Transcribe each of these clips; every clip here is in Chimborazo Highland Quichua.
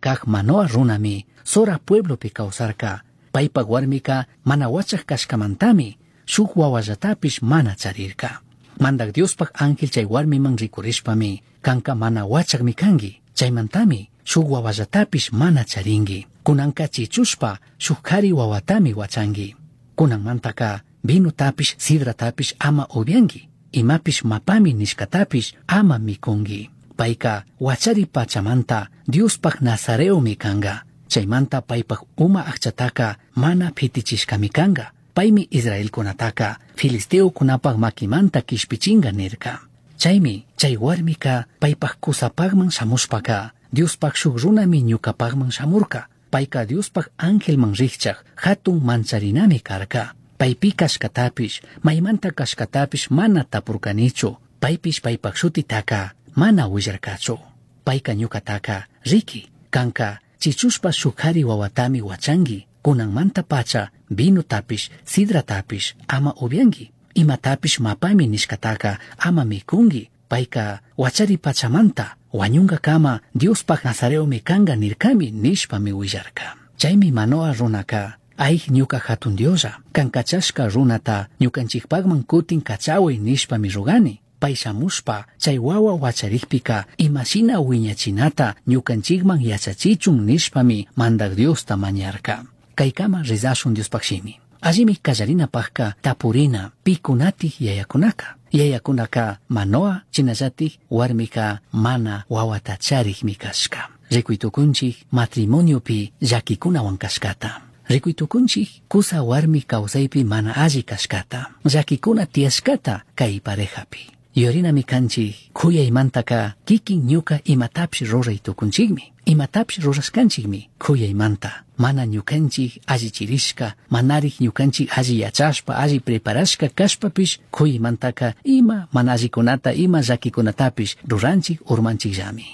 caj Manoa runami Zora pueblopi causarca. Paipaj huarmica mana huachaj cashcamantami shuj huahuallatapish mana charirca. Mandaj Diospaj ángel chai huarmiman ricurishpami, canca mana huachajmi cangui. Chaimantami shuj huahuallatapish mana charingui. Cunanca chichushpa shuj jari huahuatami huachangui. Cunanmantaca vinotapish sidratapish ama upiangui. Imapish mapami nishcatapish ama micungui. Paica huachari pachamanta Diospaj nazareomi canga. Chaimanta paipaj uma ajchataca mana pitichishcami canga. Paimi israelcunataca filisteocunapaj maquimanta quishpichinga nirca. Chaimi chai huarmica paipaj cusapajman shamushpaca Diospaj shuj runami ñucapajman shamurca. Paica Diospaj angelman rijchaj jatun mancharinami carca. Paipi cashcatapish, maimanta cashcatapish mana tapurcanichu. Paipish paipaj shutitaca mana huillarcachu. Paica ñucataca, riqui, canca chichushpa shuj jari huahuatami huachangui. Cunanmanta pacha vinotapish, sidratapish ama upiangui. Imatapish mapami nishcataca ama micungui. Paica huachari pachamanta huañungacama Diospaj nazareomi canga nircami nishpami huillarca. Chaimi Manoa runaca, aij ñuca jatun Dioslla, can cachashca runata ñucanchijpajman cutin cachahuai nishpami rogani. Pai shamushpa chai huahua huacharijpica imashina huiñachinata ñucanchijman yachachichun nishpami Mandaj Diosta mañarca. Caicama rezashun Diospaj shimi. Allimi callarinapajca tapurina picunatij yayacunaca. Yayacunaca Manoa shinallataj huarmica mana huahuata charijmi cashca. Ricui tucunchij matrimoniopi llaquicunahuan cashcata. Ricui tucunchij cusa huarmi causaipi mana alli cashcata. Llaquicuna tiyashcata cai parejapi. Yuyarinami canchij cuyaimantaka kikin ñuka imatapish ruray tucunchikmi. Imatapish rurashkanchikmi cuyaimanta. Mana ñukanchik allichirishka, manarik ñukanchik alli yachashpa, alli preparashka kashpapish cuyaimantaka ima mana allikunata, ima llaquikunatapish ruranchik urmanchikllami.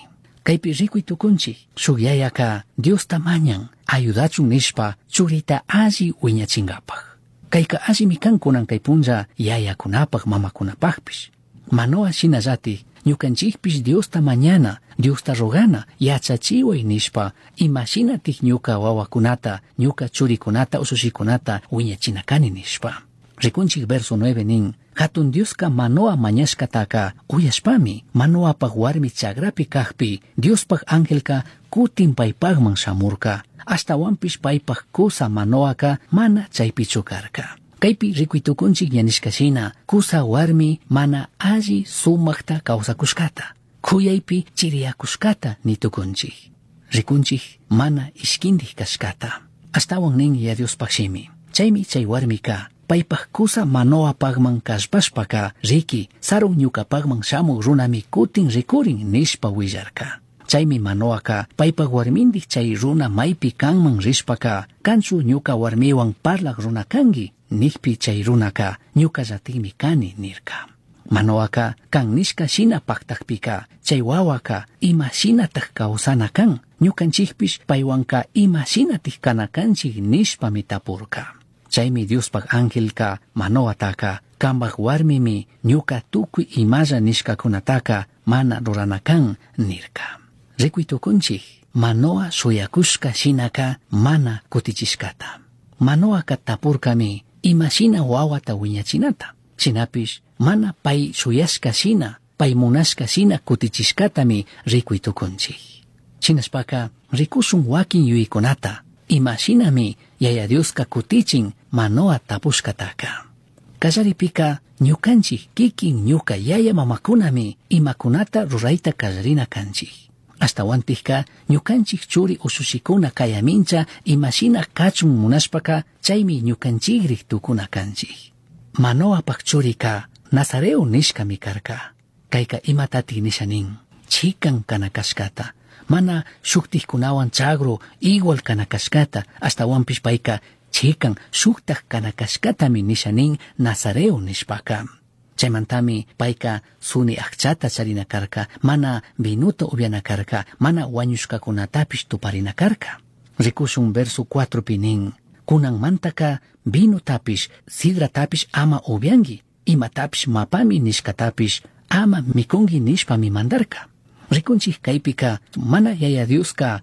Kaypi rikuy tukunchik, shuk yayaka Diosta mañan, ayudachun nishpa churita alli wiñachinkapaj. Kayka allimi kan kunan kay punlla yayakunapaj mamakunapajpish. Manoa shinallatik ñukanchikpish Diosta mañana, Diosta rogana, yachachiway nishpa imashinatik ñuka wawakunata, ñuka churikunata, ushushikunata wiñachina kani nishpa. Rikunchik verso 9 nin, Jatun Dioska Manoa mañashkataka uyashpami, Manoapaj warmi chagrapi kajpi, Diospaj angelka kutin paypajman shamurka. Ashtawanpish paypaj kusa Manoaka mana chaypichu karka. Kaypi rikuy tukunchik ña nishka shina, kusa warmi mana alli sumajta kawsakushkata, kuyaypi chiriyakushkata nitukunchik. Rikunchik mana ishkindik kashkata. Ashtawan nin ya Diospaj shimi. Chaymi chay warmika paypaj kusa Manoapajman kallpashpaka riki sarun ñukapajman shamuj runami kutin rikurin nishpa willarka. Chaymi Manoaka paypaj warmindik chay runa maypi kanman rishpaka kanchu ñuka warmiwan parlaj runa kanki nijpi chay runaka ñukallatikmi kani nirka. Manoaka kan nishka shina paktakpika chay wawaka ima shinataj kawsana kan ñukanchikpish paywanka ima shinatik kana kanchik nishpami tapurka. Chaymi Diospaj angelka Manoataka kambaj warmimi ñuka tukuy imalla nishkakunataka mana rurana kan nirka. Rikuy tukunchik Manoa shuyakushka shinaka mana kutichishkata. Manoaka tapurkami ima shina wawata wiñachinata. Shinapish mana pay shuyashka shina, pay munashka shina kutichishkatami rikuy tukunchik. Shinashpaka rikushun wakin yuyaykunata, ima shinami Yaya Dioska kutichin Manoa tapushkataka. Kallaripika ñukanchik kikin ñuka yaya mamakunami imakunata rurayta kallarina kanchik. Ashtawantikka ñukanchik churi ushushikuna kayamincha imashina kachun munashpaka chaymi ñukanchikrik tukuna kanchik. Manoapaj churika Nazareo nishkami karka. Kayka imatatik nisha nin, chikan kana kashkata, mana shuktikkunawan chagru igual kana kashkata, ashtawanpish payka chikan shuktak kana kashkatami nisha nin Nazareo nishpaka. Chaymantami payka suni akchata charina karka, mana vinuta upiana karka, mana wañushkakunatapish tuparina karka. Rikushun verso 4 pi nin, kunanmantaka vinotapish, sidratapish ama upianki, imatapish mapami nishkatapish ama mikunki nishpami mandarka. Rikunchik kaypika mana Yaya Dioska.